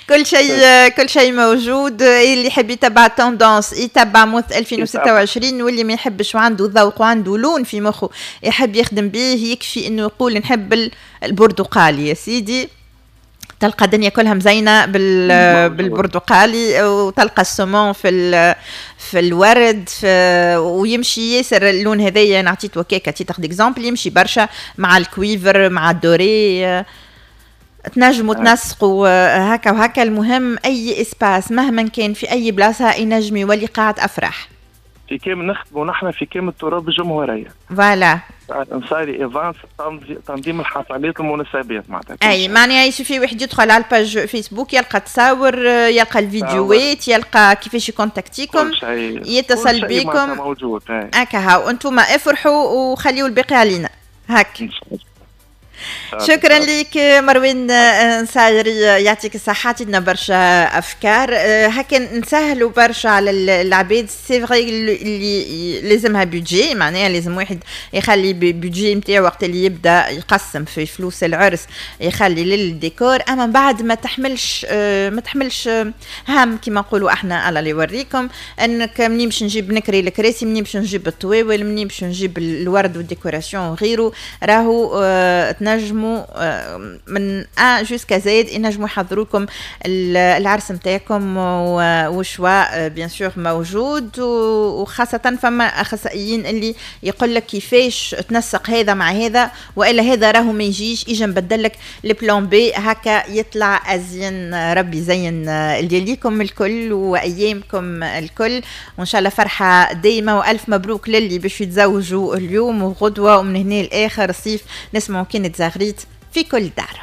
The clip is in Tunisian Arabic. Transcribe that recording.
كل شيء، كل شيء موجود. اللي يحب يتبع tendance يتبع mode 2026، واللي ما يحبش وعنده ذوق وعنده لون في مخه يحب يخدم به، يكفي انه يقول نحب البرتقالي يا سيدي، تلقى الدنيا كلها مزينة بالبرتقالي، وتلقى ال saumon في الورد في، ويمشي ياسر اللون هذايا. انا عطيت وكاكا titre d'exemple، يمشي برشا مع ال cuivre، مع ال doré، تنجموا تنسقوا هكا وهكا. المهم اي espace مهما كان في اي بلاصة ينجم يولي قاعة افراح. في كامل نخدموا نحن في كامل التراب الجمهوريه. voilà. نصاري events، تنظيم الحفلات، المناسبات معناتها. اي، معناها يسوفي واحد يدخل على ال page فيسبوك، يلقى تصاور، يلقى الفيديوهات، يلقى كيفاش يكونتاكتيكم، يتصل بكم. موجود. هكا هاو، انتم افرحوا وخليوا الباقي علينا هاك. شكرا لك مروان نصايري، يعطيك الصحة، عطيتنا برشا أفكار هكا نسهلوا برشا على العباد. c'est vrai اللي لازمها budget، معناها لازم واحد يخلي budget نتاعو وقت اللي يبدا يقسم في فلوس العرس يخلي للديكور، اما بعد ما تحملش هم كما نقولوا احنا. الله اللي يوريكم انك منين باش نجيب نكري الكراسي، منين باش نجيب الطواول، منين باش نجيب الورد وال décoration وغيره. راهو تنجموا من A jusqu'à Z ينجموا يحضروا لكم العرس نتاعكم، و choix bien sûr موجود، وخاصة فما اخصائيين اللي يقول لك كيفاش تنسق هذا مع هذا، والا هذا راهو ما يجيش، اجا نبدل لك ال plan B، هكا يطلع ازين. ربي يزين لياليكم الكل وايامكم الكل، وان شاء الله فرحه دايمه، والف مبروك للي باش يتزوجوا اليوم وغدوه ومن هنا لاخر الصيف. نسمعوا كان تزغريت في كل دار.